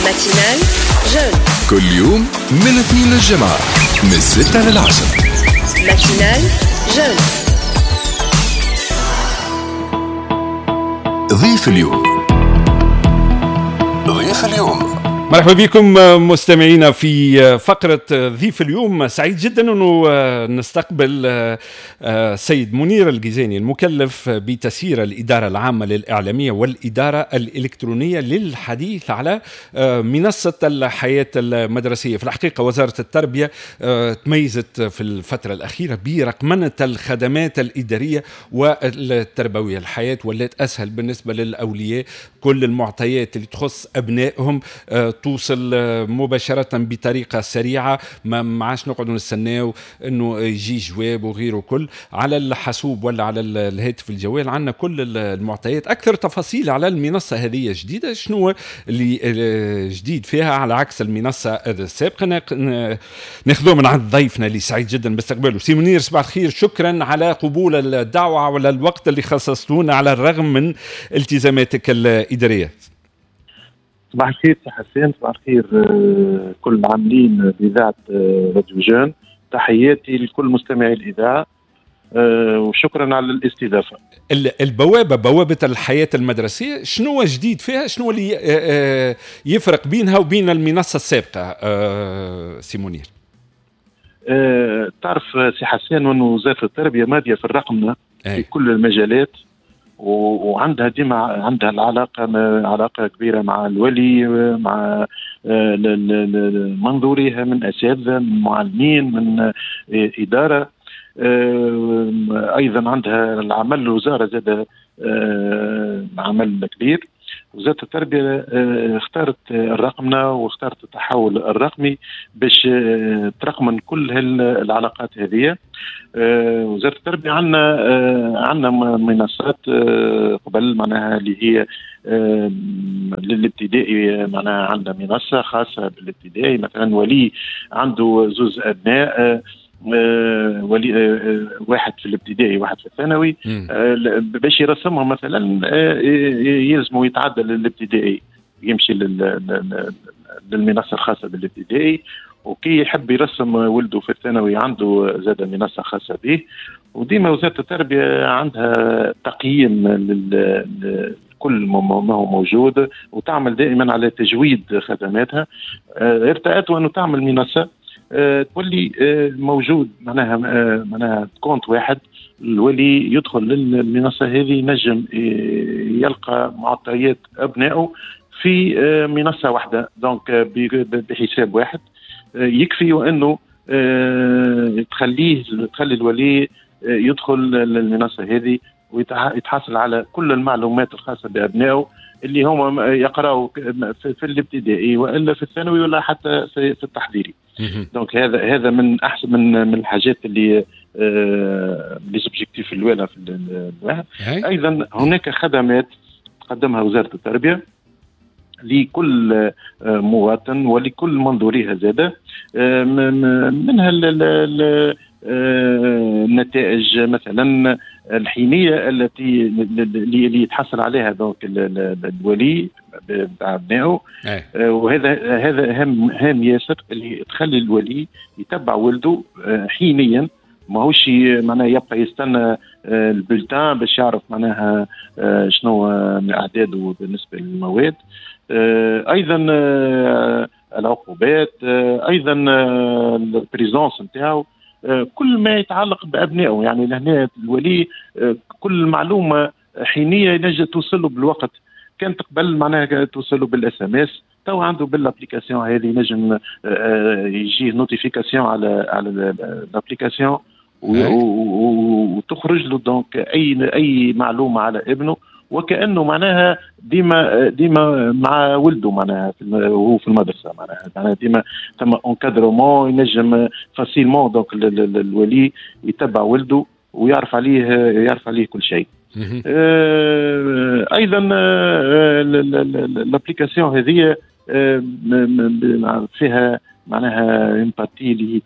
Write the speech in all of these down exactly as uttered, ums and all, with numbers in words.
matinale jeune. كل يوم من الاثنين للجمعة من الستة للعشرة. matinale jeune. ضيف اليوم، ضيف اليوم. مرحبا بكم مستمعينا في فقرة ضيف اليوم. سعيد جدا أنه نستقبل سيد منير القيزاني المكلف بتسيير الإدارة العامة للإعلامية والإدارة الإلكترونية للحديث على منصة الحياة المدرسية. في الحقيقة وزارة التربية تميزت في الفترة الأخيرة برقمنة الخدمات الإدارية والتربوية. الحياة ولات أسهل بالنسبة للأولياء، كل المعطيات اللي تخص أبنائهم توصل مباشرة بطريقة سريعة، ما معاش نقعدوا نستناو انه يجي جواب وغيره، كل على الحاسوب ولا على الهاتف الجوال عندنا كل المعطيات. اكثر تفاصيل على المنصة هذه جديدة، شنو اللي جديد فيها على عكس المنصة السابقة، ناخذوه من عند ضيفنا اللي سعيد جدا باستقباله. سي منير صباح الخير، شكرا على قبول الدعوة وعلى الوقت اللي خصصتونا على الرغم من التزاماتك الإدارية. صباح الخير سي حسين، صباح الخير كل العاملين بإذاعة راديو جون، تحياتي لكل مستمعي الإذاعة وشكرا على الاستضافة. البوابة، بوابة الحياة المدرسية، شنو جديد فيها؟ شنو اللي يفرق بينها وبين المنصة السابقة سي منير؟ تعرف سي حسين أن وزارة التربية مادية في الرقمنة في كل المجالات، وعندها ديما عندها العلاقة علاقة كبيرة مع الولي، مع منظوريها من اساتذة، من معلمين، من ادارة. ايضا عندها العمل الوزارة زاد عمل كبير. وزارة التربية اختارت الرقمنه واختارت التحول الرقمي باش ترقمن كل العلاقات هذه. وزارة التربية عندنا عندنا منصات قبل معناها اللي هي للابتدائي، معناها عندنا منصة خاصة بالابتدائي. مثلا ولي عنده زوز ابناء، ولي واحد في الابتدائي واحد في الثانوي، باش يرسمهم مثلا يلزموا يتعدى للابتدائي، يمشي للمنصه الخاصة بالابتدائي، وكي يحب يرسم ولده في الثانوي عنده زاد منصة خاصة به. وديما وزارة التربية عندها تقييم لكل ما هو موجود، وتعمل دائما على تجويد خدماتها. ارتأت أنه تعمل منصة تولي موجود معناها معناها compte واحد، الولي يدخل للمنصه هذه ينجم يلقى معطيات ابنائه في منصة واحدة، donc بحساب واحد. يكفي وانه تخليه تخلي الولي يدخل للمنصه هذه ويتحصل على كل المعلومات الخاصة بابنائه اللي هم يقراوا في الابتدائي والا في الثانوي ولا حتى في التحضيري. donc هذا هذا من احسن من من الحاجات اللي les objectifs الاولى في الواحد. ايضا هناك خدمات تقدمها وزارة التربية لكل مواطن ولكل منظوريها زاده، منها النتائج مثلا الحينيه التي اللي يتحصل عليها donc الولي بتاع ابنائه، وهذا هذا هام هام ياسر، اللي تخلي الولي يتبع ولده حينيا، ماهوش معناها يبقى يستنى ال bulletin باش يعرف معناها شنو اعداده بالنسبة للمواد. ايضا العقوبات، ايضا ال présence نتاعو، كل ما يتعلق بابنائه. يعني لهنا الولي كل معلومة حينيه ينجم توصل له بالوقت. كانت قبل معناها توصل له بال SMS، تو عنده بال application هذه ينجم يجيه notification على على l'application وتخرج له donc اي اي معلومة على ابنه، وكانه معناها ديما ديما مع ولده معناها وهو في المدرسة، معناها معناها ديما ثم encadrement، ينجم facilement donc الولي يتبع ولده ويعرف عليه يعرف عليه كل شيء. آه ايضا l'application هذه فيها معناها une partie اللي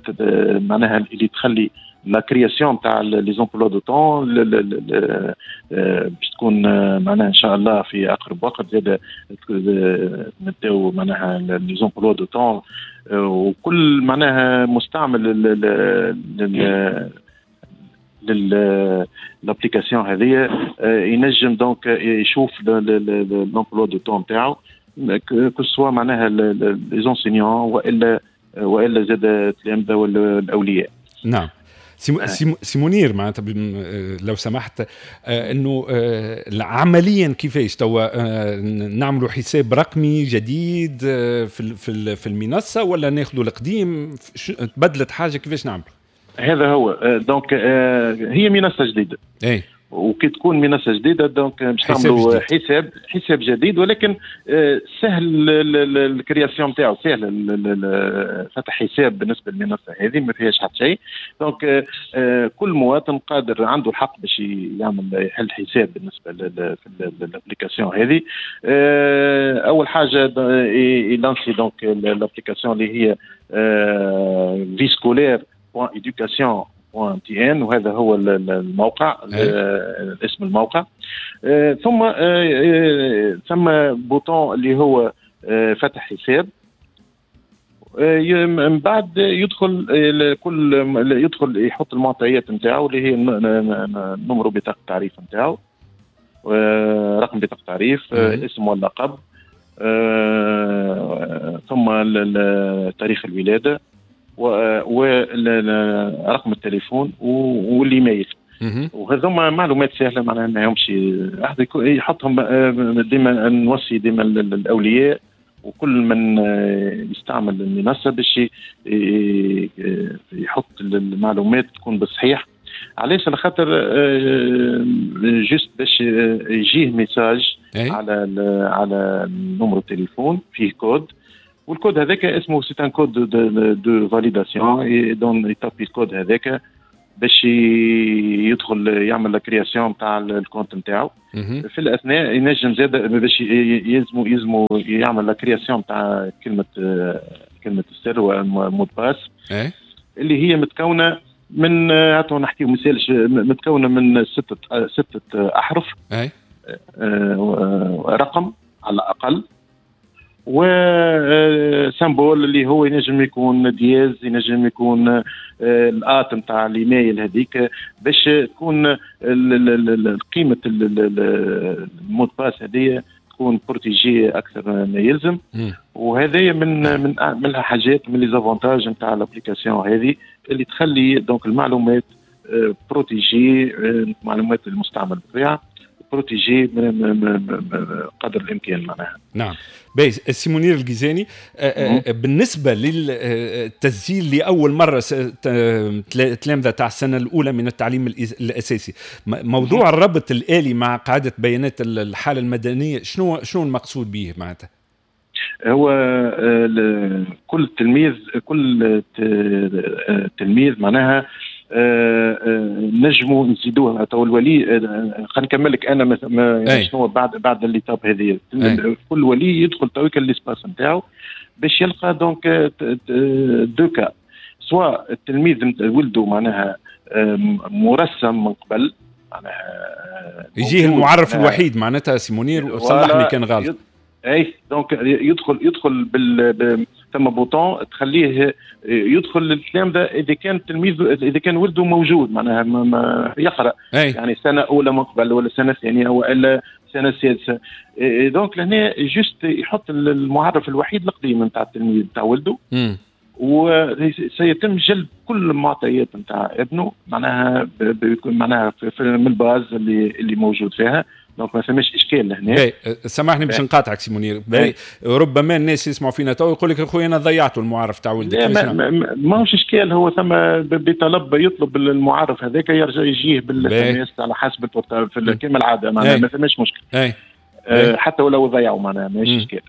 معناها اللي تخلي la création تاع les emplois du temps باش تكون معناها ان شاء الله في اقرب وقت زاد نبداو معناها les emplois du temps، وكل معناها مستعمل لل l'application هذه ينجم donc يشوف l'emploi du temps تاعو، que ce soit معناها les enseignants والا والا زاد التلامذه ولا الاولياء. نعم. سي منير، معناتها لو سمحت، انه عمليا كيفاش توا نعملوا حساب رقمي جديد في في في المنصة ولا ناخذوا القديم؟ تبدلت حاجة؟ كيفاش نعمل؟ هذا هو، donc هي منصة جديدة. اي وكي تكون منصة جديدة donc باش نعملوا حساب حساب جديد، ولكن سهل ال création تاعو، سهل فتح حساب بالنسبة للمنصه هذه، ما فيهاش حتى شيء. donc كل مواطن قادر عنده الحق باش يعمل يحل حساب بالنسبة لل application هذه. اول حاجة يلانسي donc l'application اللي هي vie scolaire point éducation point tn، وهذا هو الموقع، اسم الموقع. ثم ثم bouton اللي هو فتح حساب، من بعد يدخل كل يدخل يحط المعطيات نتاعو اللي هي numéro بطاقة التعريف نتاعو، رقم بطاقة التعريف، الاسم واللقب، ثم تاريخ الولادة ورقم التليفون والايميل. وهذوما معلومات سهله، معناها ما همش احد يحطهم. ديما نوصي ديما الاولياء وكل من يستعمل المنصة باش يحط المعلومات تكون بالصحيح. علاش؟ على خاطر juste باش يجيه message على على numéro التليفون فيه code، وال code هذاك اسمه c'est un code de, de validation، donc يطابي الكود هذاك باش يدخل يعمل la création تاع ال compte نتاعو. في الاثناء ينجم زاد باش يلزمو يلزمو يعمل la création تاع كلمة كلمة السر و mot de passe اللي هي متكونه من، هاتوا نحكيو مثال، متكونه من ستة ستة احرف، رقم على الاقل، و symbole اللي هو ينجم يكون dièse، ينجم يكون ال at نتاع الايميل هذيك، باش تكون قيمة ال mot de passe هذه تكون protégée اكثر ما يلزم. وهذا من من من الحاجات، من les avantages نتاع l'application هذه اللي تخلي donc المعلومات protégées، معلومات المستعمل بالطبيعة protégées قدر الامكان معناها. نعم. باهي سي منير الجيزاني، بالنسبة للتسجيل لاول مرة تلامذه تاع السنة الاولى من التعليم الاساسي، موضوع الربط الالي مع قاعدة بيانات الحالة المدنية، شنو شنو المقصود به معناتها؟ هو كل تلميذ كل تلميذ معناها نجموا نزيدوه. تو الولي، خلينا نكمل لك انا مثلا شنو بعد بعد l'étape هذه. كل ولي يدخل تويك l'espace نتاعو باش يلقى donc deux cas، soit التلميذ ولده معناها مرسم من قبل، معناها يجيه المعرف الوحيد معناتها. سي منير صلحني كان غلط. اي donc يدخل يدخل بال ثم bouton تخليه يدخل للتلامذه اذا كان التلميذ اذا كان ولده موجود معناها ما يقرا أي. يعني سنة اولى من قبل ولا سنة ثانية والا سنة سادسة. donc لهنا juste يحط المعرف الوحيد القديم نتاع التلميذ نتاع ولده، وسيتم جلب كل المعطيات نتاع ابنه معناها بيكون معناها من ال base اللي اللي موجود فيها. donc ما فماش اشكال لهنا. سامحني باش نقاطعك سي منير، ربما الناس يسمعوا فينا تو يقول لك اخويا انا ضيعت المعرف تاع ولدك. ما ماهوش اشكال، هو ثم بطلب يطلب المعرف هذاك يرجع يجيه بال SMS على حسب ال portable كما العادة، معناها ما فماش مشكل. أي. أه حتى ولو ضيعوا معناها ماهيش اشكال.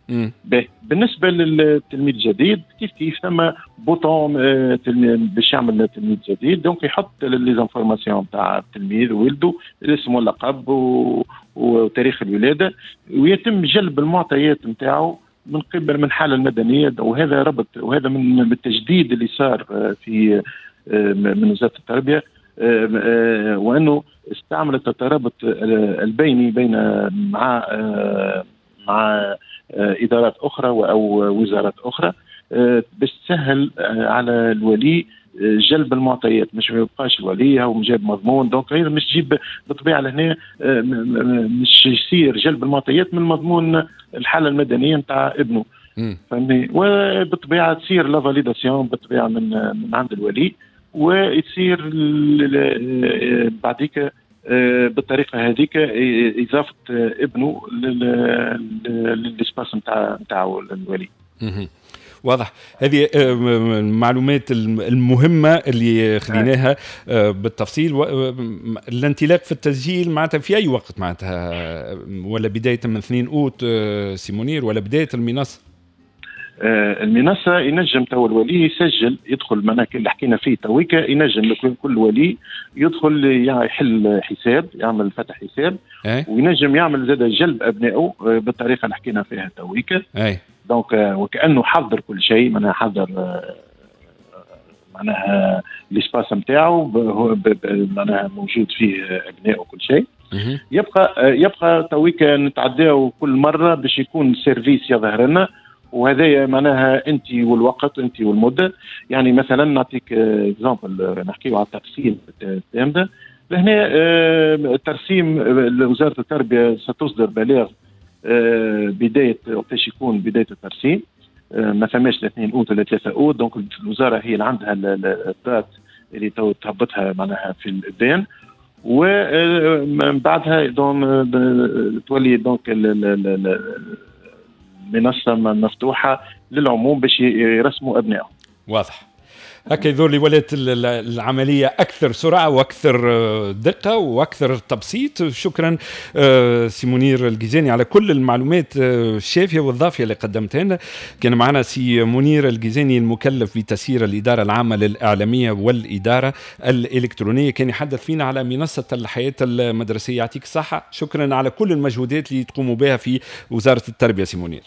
بالنسبة للتلميذ الجديد كيف كيف ثم bouton باش يعمل تلميذ جديد، donc يحط les informations تاع التلميذ ولده، الاسم واللقب وتاريخ الولادة، ويتم جلب المعطيات نتاعو. من قبل من الحالة المدنية، وهذا ربط وهذا من التجديد اللي صار في من وزارة التربية، وانه استعملت الترابط البيني بين مع مع ادارات اخرى او وزارات اخرى باش تسهل على الولي جلب المعطيات، مش ما يبقاش الولي هو جاب مضمون، donc غير مش تجيب بالطبيعة لهنا مش يصير جلب المعطيات من مضمون الحالة المدنية نتاع ابنه، فهمني؟ وبالطبيعه تصير la validation بالطبيعة من من عند الولي، ويصير بعديك بالطريقة هذيك اضافه ابنه لل espace نتاع نتاع الولي. واضح. هذه المعلومات المهمة اللي خذيناها بالتفصيل. الانطلاق في التسجيل معناتها في أي وقت معناتها، ولا بداية من اثنين أوت سي منير، ولا بداية المنصة؟ المنصة ينجم تو الولي يسجل، يدخل معناها اللي حكينا فيه تويكا، ينجم كل ولي يدخل يحل حساب، يعمل فتح حساب، أي؟ وينجم يعمل زاد جلب أبنائه بالطريقة اللي حكينا فيها تويكا. أي. donc وكانه حضر كل شيء، معناها حضر معناها l'espace نتاعو، معناها موجود فيه ابنائه وكل شيء. يبقى يبقى تويكا نتعداو كل مرة باش يكون service يظهر لنا، وهذايا معناها انت والوقت انت والمدة. يعني مثلا نعطيك exemple، نحكيو على الترسيم التامده لهنا. الترسيم وزارة التربية ستصدر بلاغ بداية وقتاش يكون بداية الترسيم، ما ثماش اثنين اوت ولا ثلاثة اوت، donc الوزارة هي اللي عندها ال date اللي تو تهبطها معناها في الابان، ومن بعدها donc تولي donc المنصة مفتوحة للعموم باش يرسموا ابنائهم. واضح. هكا يظهر لي ولات العملية أكثر سرعة وأكثر دقة وأكثر تبسيط. شكرا سي منير الجيزاني على كل المعلومات الشافية والضافية اللي قدمتها لنا. كان معنا سي منير الجيزاني المكلف بتسيير الإدارة العامة للإعلامية والإدارة الإلكترونية، كان يحدث فينا على منصة الحياة المدرسية. يعطيك الصحة، شكرا على كل المجهودات اللي تقوموا بها في وزارة التربية سي منير.